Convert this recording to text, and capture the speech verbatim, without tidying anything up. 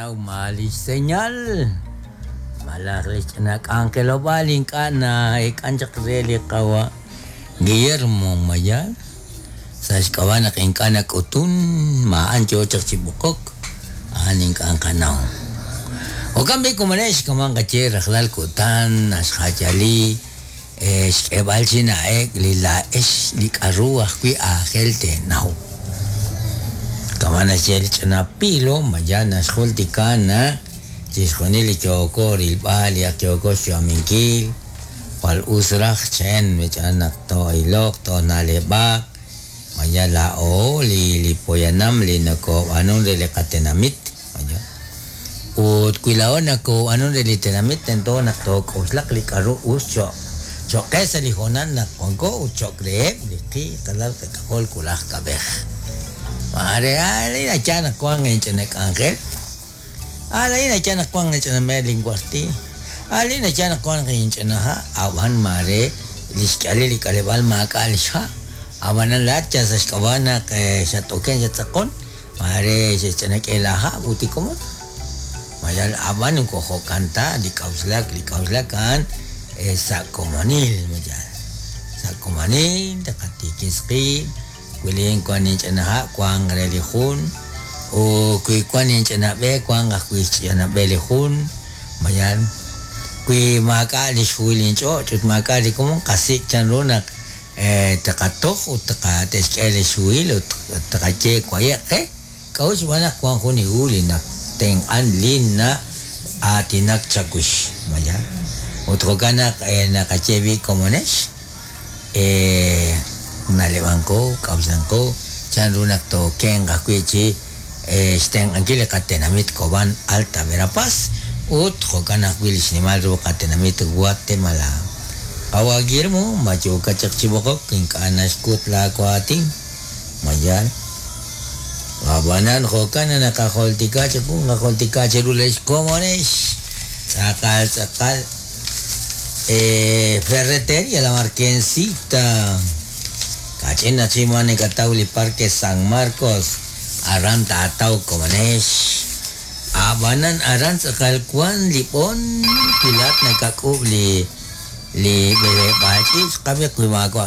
Naqanaw ma lix señal malaj lix ch'ina k'anjelob'aal ink'a' na'eek'an chaq re li qawa' Guillermo Mayal sa' xk'ab'a' naq ink'a' nak'utun ma'an yo chaq chi b'oqok a'an ink'a' nqanaw. Jo'kan b'i' komonex kaman qaye rajlal kutan naxjayali xk'eeb'al chi na'ek li laa'ex li k'aru ajwi' aajel teenaw. Kama' naxye li ch'ina pilo mayal naxjultika naq chixjunil li yooko rilb'al li ak yooko xyu'aminkil jwal us raj chen mich'an naq too'iloq toona'leb'aq mayal laa'o li li poyanam li nakob'aanun re li qatenamit mayal ut wi laa'o nakob'aanun re li tenamit tento naq took'oxlaq li k'aru us cho'q cho'q qe sa' li hoonal naq wanko ut cho'q reheb' li qi qalal qak'ajol wulaj kab'ej. Mare alin nayaal naq wank inch'ina k'anjel alin nayaal naq wank inch'ina meer linwarti alin nayaal naq wank inch'ina ha' ab'an mare li xk'alil li k'aleb'aal maak'a' li xha' ab'anan laa'at yal sa' xk'ab'a' naq xat'oken xattz'aqon mare xe'xch'ina k'e laaha' ut li komon mayal ab'an moko jo'kan ta li k'a'uxlak li k'a'uxlak a'an sa' komonil mayal sa' komonil taqatiikis qiib' wi lin wank inch'ina ha' wank re li jun ut wi wank inch'ina b'e wank ajwi' xch'ina b'e li jun mayal wi maak'a' li xhuhil inch'och' ut maak'a' li komon qasik' chanru naq taqatoj ut te'xk'e li xhuhil ut taqaye waye'q qe k'a'ut xb'aan naq wank jun li hu li natenq'an li na'aatinak chawix mayal ut jo'kan naq naqaye b'i' komonex na'leb'anqo k'a'uxlanqo chanru naq tookenq ajwi' chi xtenq'ankil li qatenamit Cobán Alta Verapaz ut jo'kan ajwi' li xnimal ru qatenamit Guatemala. Qawa' Guillermo ma yookat chaq chi b'oqok ink'a' naxkut laawaatin mayal ab'anan jo'kan naq naqajultika chiqu naqajultika chiru li xkomonex tz'aqal tz'aqal Ferretería La Marquesita kach'in nachima nikataw li Parque San Marcos aran taataw komonex ab'anan aran tz'aqal wan li b'on wi laat nakak'ub' li li b'eleb'aal ch'iich' qab'i wi maawa'